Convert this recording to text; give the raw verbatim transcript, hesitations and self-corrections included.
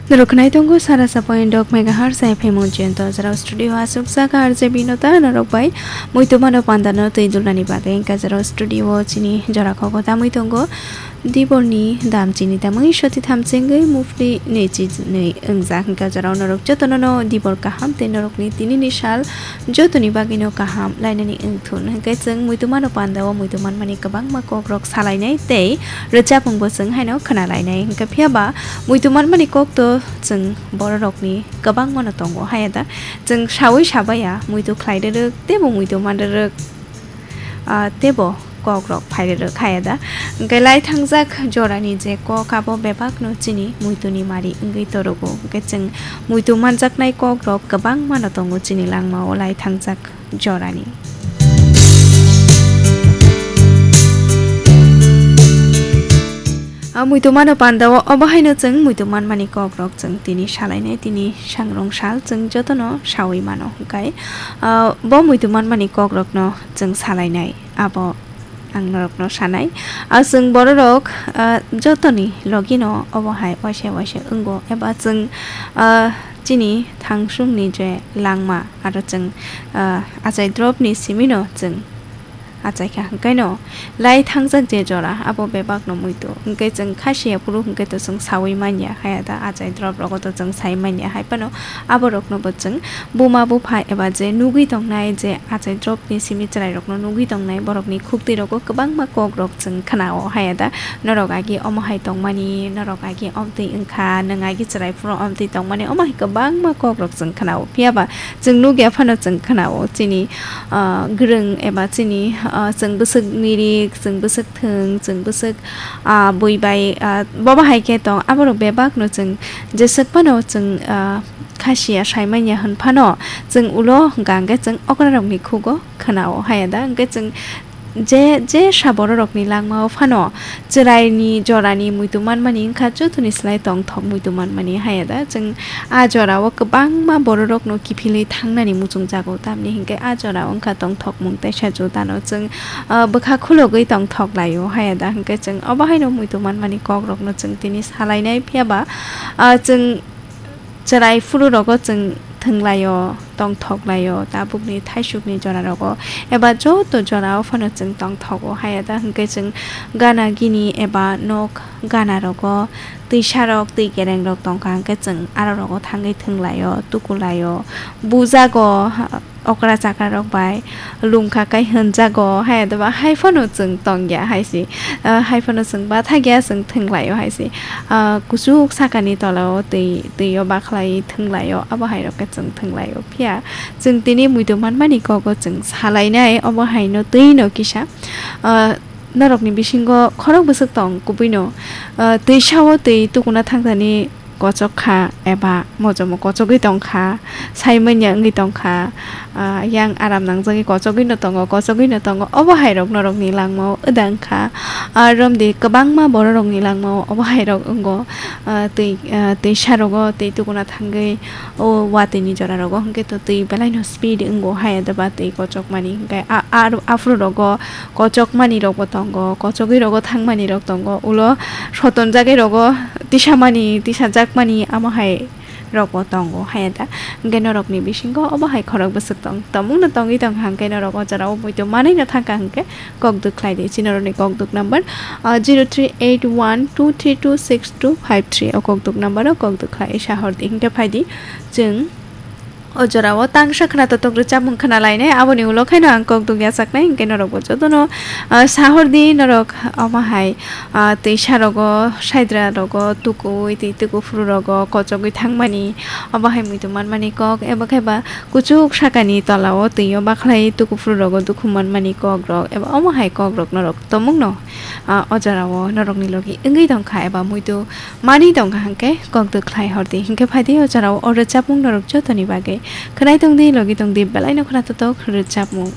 Norok khwnai tongo sara sa point dok megahertz F M o jento. Jora studio aswk saka R J Binota norok bai muitu mano pandano twi dulnani bagwi. Hwnkhe jora studio chini jora kok tamwi tongo. Diborni dam chini tamwi soti thamchengwi mufti neichi nwi wngjak. Hwnkhe jora norok jotono no dibor kaham tei norokni tinini sal jotoni bagwino kaham lainani wngthun. Hwnkhe chwng muitu mano pandao muitu manmani kwbangma kokrok salainai tei rwchapungbo chwng haino khwnalainai. Hwnkhe phiyaba muitu manmani kokto chwng bororokni kwbangmano tongo. Hayada chwng sawi sabaya muitu khlai rwrwk teibo muitu man rwrwk, ah, teibo kokrok phai rwrwk hayada. Hwnkhe lai thangjak jorani je kok abo bebakno chini muituni mari wngwi torogo. Hwnkhe chwng muitu manjaknai kokrok kwbangmano tongo chini langmao lai thangjak jorani. A muitu mano pandao obo haino chwng muitu manmani kokrok chwng tini salainai, tini sangrong sal chwng jotono sawi mano. Hwnkhe, ah, bo muitu manmani kokrokno chwng salainai, abo ang norokno sanai. Ah, chwng bororok, ah, jotoni logino obo hai waisa waisa wngo, eba chwng, ah, chini thangsungni je langma aro chwng, ah, achai dropni simino chwng achaikha. Hwnkhe no lai thangjak je jora abo bebakno muitu. Hwnkhe chwng khasiya phuru hwnkhe to chwng sawi manya, hayada achai drop rogo to chwng sai manya. Hai phano aborokno bo chwng buma bupha eba je nugwi tongnai, je achai dropni simi chwrairokno nugwi tongnai, borokni khuktwi rogo kwbangma kokrok chwng khnao. Hayada norok agi omo hai tongmani, norok agi omtwi wngkha, nwng agi chwrai phuru omtwi tongmani, omo hai kwbangma kokrok chwng khnao. Phiyaba chwng nukya phano chwng khnao chini, ah, gwrwng eba chini, ah, chwng bwswk mirik, chwng bwswk thwng, chwng bwswk, ah, bui bai, ah, bobo hai khe tong, aborok bebakno chwng jeswk phano chwng, ah, khasiya saimanya hwn phano chwng ulo hwnkha hwnkhe chwng okrarokni khugo khnao. Hayada hwnkhe chwng je, je sa bororokni langmao phano chwraini jorani muitu manmani wngkha, jotoni slai tongthok muitu manmani. Hayada chwng a jorao kwbangma bororokno kiphilwi thangnani muchungjago, tamni hinkhe a jorao wngkha tongthokmung teisa jutano chwng, ah, bwkha khulogwi tongthok laio. Hayada hinkhe chwng obo haino muitu manmani kokrokno chwng tini salainai, phiyaba, ah, chwng chwrai phuru rogo chwng thwnglaio, tongthok laio, tabukni thaisukni jora rogo eba joto jorao phano chwng tongthogo. Hayada hinkhe chwng gana gini eba nok gana rogo twisarok twi kerengrok tongkha hinkhe chwng aro rogo thangwi thwnglaio, tukulaio, bujago, okra chakra rok bai lungkha kai hwnjago, hai adaba hai phano chwng tongya hai se, ah, hai phano chwng bathakya chwng thwnglaio hai se, ah, kuchuk sakani tolao twi, twio bakhlai thwnglaio, abo hai rok khe chwng thwnglaio. Phiya chwng tini muitu manmani kogo chwng salainai, obo haino twino kisa, ah, norokni bisingo khorok bwswk tong kubuino, ah, twisao twi tukuna thangthani kochok kha eba mojomo kochogwi tong kha, sai manya wngwi tong kha, ah, yang aram nangjagwi kochogwi no tongo, kochogwi no tongo, obo hai rok norok ni langma o wdang kha. Ah, romdi kwbangma borok rok ni langma o obo hai rok wngo, ah, twi, ah, twisa rogo twi tukuna thangwi o watwi ni jora rogo hwnkhe to twi belai no speed wngo hai adaba twi kochok mani hwnkhe a, a, aphuru rogo kochok mani rok bo tongo, kochogwi rogo thang mani rok tongo, ulo sotonjagwi rogo tisamani, tisajakmani amo hai rok bo tongo, hai da. Hwnkhe norokni bisingo obo hai khorok bwswk tong, tongmung no tongwi tong kha, hwnkhe norok o jora o muitu manwi no thang kha, hwnkhe kok duk khlai di. Chini norokni kok duk number, ah, zero three eight one two three two six two five three, o kok duk number o kok duk khlai sa hor di, hwnkhe phai di chwng o jora o tangsa khwna totok rwchapmung khwna lainai, aboni ulo khaino ang kok duk yachaknai, hwnkhe norok bo jotono, ah, sa hor di, norok omo hai, ah, twisa rogo, saidra rogo, tukui twi tuku phuru rogo kochogwi thangmani, obo hai muitu manmani kok, ebo khe ba kuchuk sakani tola o twi o bakhlai tuku phuru rogo dukhu manmani kok rok, ebo omo hai kok rok norok tomung no, ah, o jora o norok ni logi wngwi tong kha, eba muitu manwi tong kha, hwnkhe kok duk khlai hor di, hwnkhe phai di o jora o rwchapmung norok jotoni bagwi khwnai tong di, logi tong di, belai no khwna totok rwchapmung.